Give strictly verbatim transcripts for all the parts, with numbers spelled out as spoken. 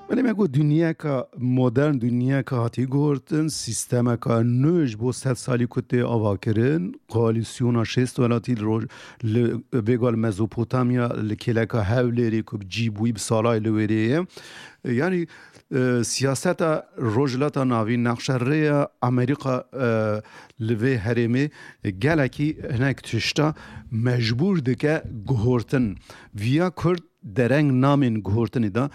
Belê me got, dinyeka modern, dinyeka hatî guhurtin, sîstemeka nû ji bo sed salî ku tê avakirin, koalîsyona şêst welatî li roj-, li vêga li Mezopotamya, li kêleka Hewlêrê ku bi cî bûyî bi salay li wêrê ye. Yanî, e, siyaseta Rojhilata Navîn, nexşerêya Amerîka, e, li vê herêmê gelekî hinek tişta mecbûr dike guhurtin. Viya Kurd dereng namên guhurtinê de,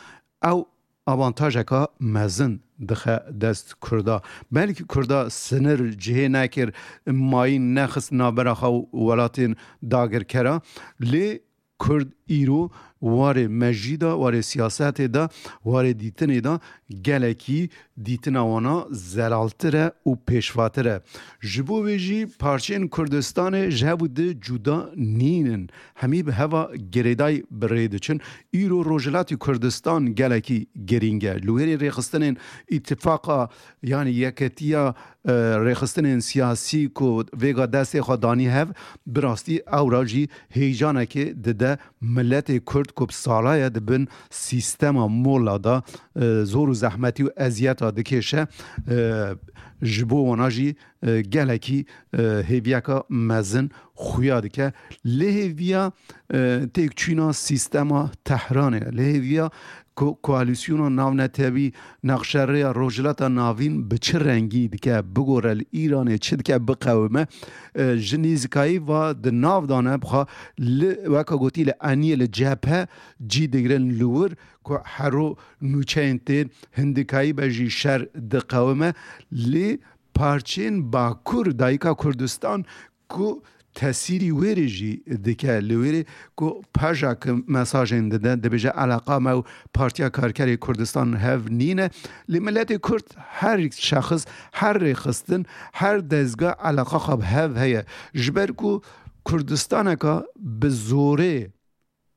ew avantajeka mezin dixe dest Kurda. Belkî Kurda sinir cihê nekir, mayîn nexist navbera xwe û welatên dagirkera, lê Kurd îro warê mejî de, warê siyasetê de, warê dîtinê de gelekî dîtina wana zelaltir e û pêşvatir e. Ji bo vê jî parçeyên Kurdistanê ji hev û di cuda nînin. Hemî bi heva girêdayî bi rê diçin. Îro Rojhilatê Kurdistan gelekî girîng e. Li wêrê rêxistinên îtifaqa, yanî yeketiya, e, rêxistinên siyasî ku vêga destê xwe danî hev, bi rastî ewra jî heyecanekê dide miletê Kurd ku bi sala ye di bin sîstema mola de, e, zor û zehmetî û eziyeta dikêşe, e, ji bo wana jî, e, gelekî, e, hêviyeka mezin xuya dike. Lê hêviya, e, têkçûna sîstema Tehranê, lê hêviya ko-, koalîsyona navnetewî nexşerêya Rojhilata Navîn bi çi rengî dike, bigore li Îranê çi dike, biqewime, e, ji nêzîkayî va di nav de ne, bixwe li, weka gotî, li eniyê, li cephe cî digirin li wir, ku hero nûçeyên tên hindikayî be jî şer diqewime, lê parçeyên Bakur, dayika Kurdistan, ku tesîrî wêrê jî dike li wêrê, ku pejak mesajên dide, dibêje eleqa me û Partiya Karkerê Kurdistan hev nîne. Lê miletê Kurd, her şexs, her rêxistin, her dezga eleqa xwe bi hev heye. Ji ber ku Kurdistaneka bi zorê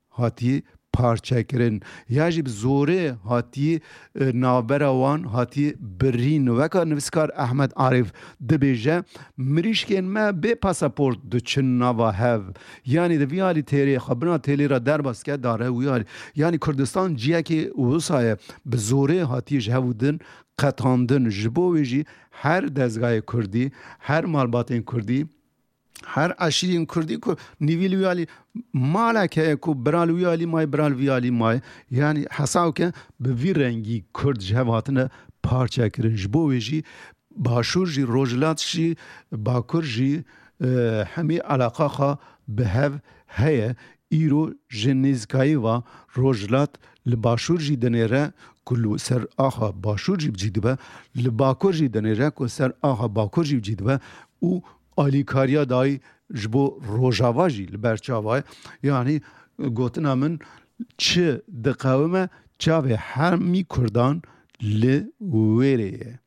hatiye parçekirin, ya jî bi zorê hatiye, e, navbera wan hatiye birîn. Weka nivîskar Ehmed Arif dibêje, mirîşkên me bê pasaport diçin nava hev. Yanî di vî alî têrê xwe bina têlê re derbas ke dare wî alî. Yanî Kurdistan ciyekê wisa ye, bi zorê hatiye ji hev û din qetandin. Ji bo wê jî her dezgahê Kurdî, her malbatên Kurdî, her eşîrên Kurdî ku nîvî li wî alî malek heye, ku bira li wî alî maye, bira li vî alî maye, yanî hesab ke bi vî rengî Kurd ji hev hatine parçe kirin. Ji bo wê jî Başûr jî, Rojhilat jî, Bakur jî, e, hemî eleqa xwe bi hev heye. Îro ji nêzîkayî va Rojhilat li Başûr jî dinêre ku li ser axa Başûr jî bi cî dibe, li Bakur jî dinêre ku ser axa Bakur jî bi cî dibe û alîkariya dayî ji bo Rojava jî li ber çava ye. Yanî gotina min, çi diqewime, çavê hemî Kurdan li wêrê ye.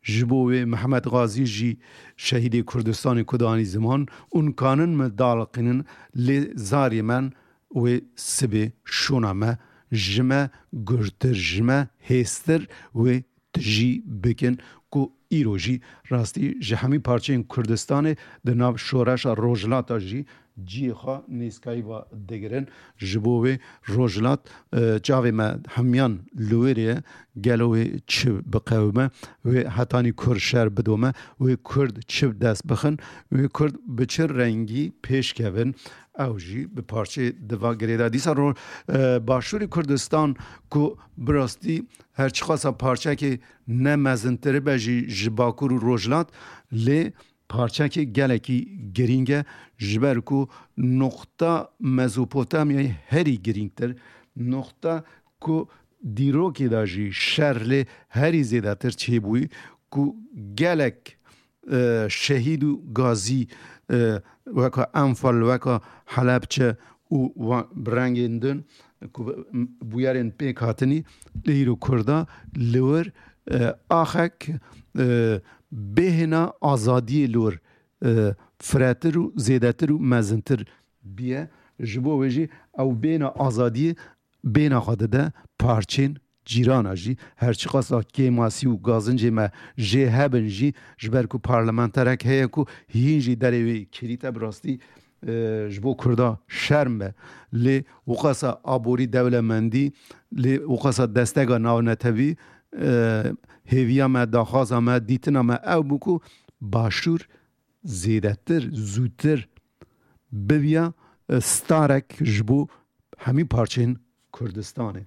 Ji bo wê Mehmet Gazî jî, şehîdê Kurdistanê ku danî ziman, ûn kanin me daliqînin, lê zarê men wê sibê şûna me ji me gurtir, ji me hêstir wê tijî bikin, ku îro jî rastî ji hemî parçeyên Kurdistanê di nav şoreşa Rojhilata jî cihê xwe nêzîkayî ve digirin. Ji bo wê Rojhilat, e, çavê me hemiyan li wê rê ye, gelo wê çi biqewime, wê hetanî kur şer bidome, wê Kurd çi dest bixin, wê Kurd bi çi rengî pêş kevin, ew jî bi parçeyê di va girê de. Dîsa ro-, e, Başûrê Kurdistan ku bi rastî her çiqasa parçekê ne mezintir be jî ji Bakur û Rojhilat, lê parçekê gelekî girîng e, ji ber ku noqta Mezopotamyayê herî girîngtir, noqta ku dîrokê de jî şer lê herî zêdetir çêbûyî, ku gelek, e, şehîd û gazî, e, weka Enfal, weka Helebçe û wa-, bi rengên din ku bûyerên pêk hatinî, lê îro Kurda li wir, e, axek, e, bêhna azadiyê li wir, e, firetir û zêdetir û mezintir biye. Ji bo wê jî ew bêhna azadiyê bêhna xwe dide parçên cîrana jî, her çiqasa kêmasî û gazincê me jê hebin jî, ji ber ku parlamenterek heye ku hîn jî derê wê kirîte, bi rastî, e, ji bo Kurda şerm be. Lê wiqasa aborî dewlemendî, lê wiqasa destega navnetewî, e, hêviya me, daxwaza me, dîtina me ew bû ku Başûr zêdetir, zûtir bibiya, e, starek ji bo hemî parçeyên Kurdistanê.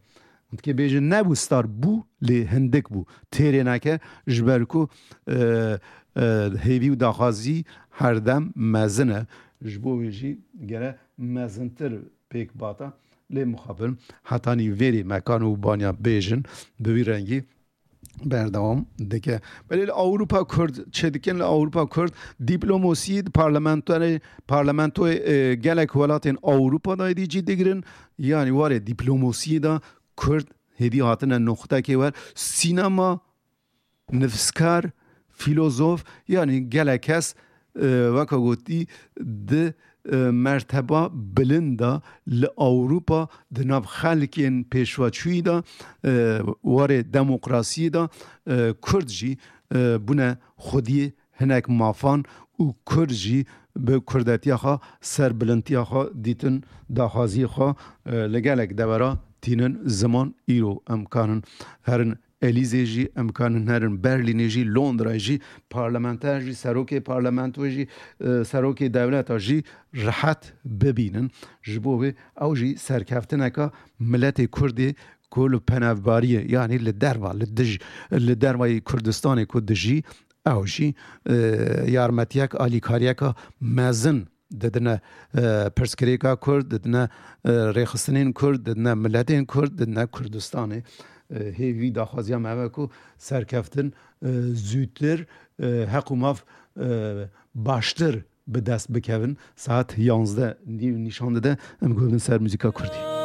Hûn dikê bêjin nebû star, bû, lê hindik bû. Têrê neke, ji ber ku, e, e, hêvî û daxwazî herdem mezin e. Ji bo wê jî gere mezintir pêk bata. Lê mixabin hetanî vêrê me kan û banya bêjin, bi vî rengî berdewam dike. Belê li Ewropa Kurd çi dikin? Li Ewropa Kurd dîplomosiyê di parlamentoyê, parlamentoyê, e, gelek welatên Ewropa de êdî cî digirin. Yanî warê dîplomosiyê de Kurd hêdî hatine noqtekê wer. Sînema, nivîskar, fîlozof, yanî gelek kes, e, weka gotî di, e, merteba bilind de li Ewropa di nav xelkên pêşveçûyî de, e, warê demokrasiyê de, e, Kurd jî, e, bûne xwediyê hinek mafan û Kurd jî bi kurdetiya xwe, serbilindtiya xwe dîtin, daxwaziyê xwe, e, li gelek devera tînin ziman. Îro em kanin herin Elîzê jî, em kanin herin Berlînê jî, Londrayê jî, parlamenter jî, serokê parlamentoyê jî, e, serokê dewleta jî rehet bibînin. Ji bo wê ew jî serkeftineka miletê Kurdê ku li penevbariyê, yanî li derva, li dij, li dervayê Kurdistanê ku dijî, ew jî, e, yarmetiyek, alîkariyeka mezin didine, e, pirsgirêka Kurd, didine, e, rêxistinên Kurd, didine miletên Kurd, didine Kurdistanê. E, hêvî daxwaziya me ev e ku serkeftin, e, zûtir, e, heq û maf, e, baştir bi dest bikevin. Saet yanzdeh nîv nîşan dide, em guh bidin ser muzîka Kurdî.